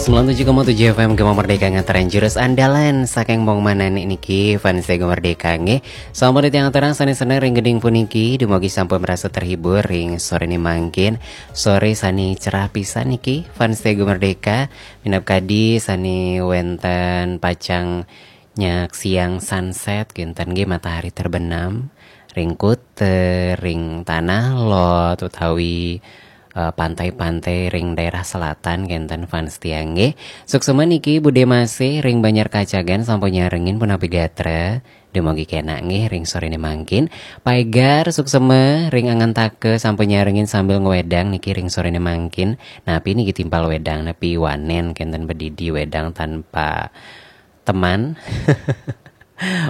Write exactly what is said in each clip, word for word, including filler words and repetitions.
Sembilan tujuh koma tujuh F M Gema Merdeka, ngataran jurus andalan saking Bong Manani niki, fans Gema Merdeka nggih. Sampun titiang aturang sané seneng ring gending puniki, dumugi sampun merasa terhibur ring soré mangkin. Soré sané cerah pisan niki, fans Gema Merdeka. Minab kadi sané wénten pacang nyaksiang sunset kénten nggih, matahari terbenam ring kuta, ring Tanah Lot utawi eh, pantai-pantai ring daerah selatan kénten, fans tiang nggih. Suksema niki Budé Masih ring Banjar Kacagan sampun nyarengin, punapi gatra? Dumugi kénak nggih ring soré mangkin. Paégar suksema ring Angantaka sampun nyarengin sambil ngwédang niki ring soré mangkin. Napi niki timpal wédang, napi wanén kénten, bedidi wédang tanpa teman.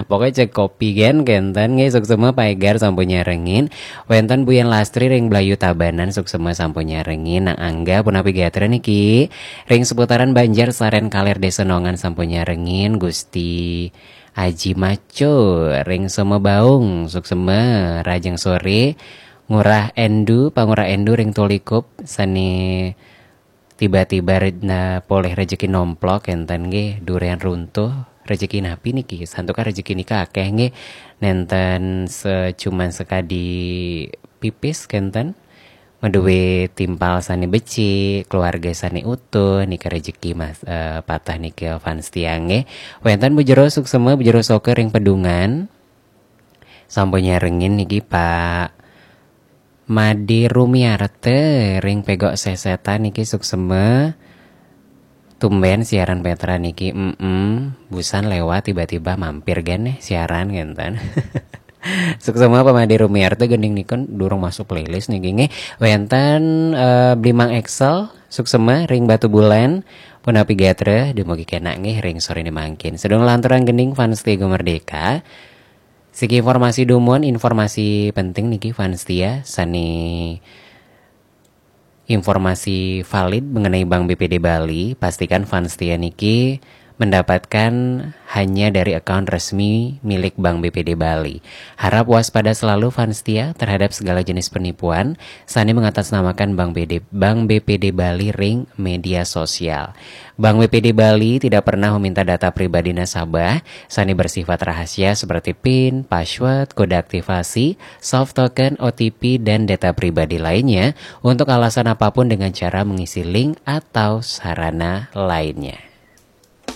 Pokoknya cek kopi gén kénten nggih. Suksema paégar sampun nyarengin. Wénten Buyan Lastri ring Blayu Tabanan, suksema sampun nyarengin. Nang Angga, punapi gatra niki? Ring seputaran Banjar Saren Kaler Désa Nongan sampun nyarengin. Gusti Aji Maco ring Semebaung, suksema, rahajeng soré. Ngurah Endu, Pangurah Endu ring Tulikup sané tiba-tiba re-, na, polih rejeki nomplok kénten nggih, durian runtuh. Rejeki napi niki? Santukan rejeki nika akéh nggih. Nénten se-, cuman sekadi pipis kénten. Madué timpal sané becik, keluarga sané utuh, nika rejeki mas, eh, patah nika, fans tiang nggih. Wénten Bu Jero suksema, Bu Jero Soker ring Pedungan. Sampun nyarengin niki, Pak. Made Rumiarta ring Pegok Sesetan niki, suksema. Tumbén siaran Petra niki, mm, busan lewat tiba-tiba mampir gén nih siaran kénten. Suksema Pak Made Rumiarta, gending nika durung masuk playlist niki nggih. Wénten eh, Blimang Excel, suksema ring Batubulan, punapi gatra? Dumugi kénak nggih ring soré mangkin. Sedurung lanturang gending, fans Gema Merdeka. Siki informasi dumun, informasi penting niki, fans setia, sané informasi valid mengenai Bank B P D Bali, pastikan fans setia niki mendapatkan hanya dari akun resmi milik Bank B P D Bali. Harap waspada selalu, fans setia, terhadap segala jenis penipuan sané mengatasnamakan Bank B D, Bank B P D Bali ring media sosial. Bank B P D Bali tidak pernah meminta data pribadi nasabah sané bersifat rahasia seperti pin, password, kode aktivasi, soft token, O T P, dan data pribadi lainnya untuk alasan apapun dengan cara mengisi link atau sarana lainnya.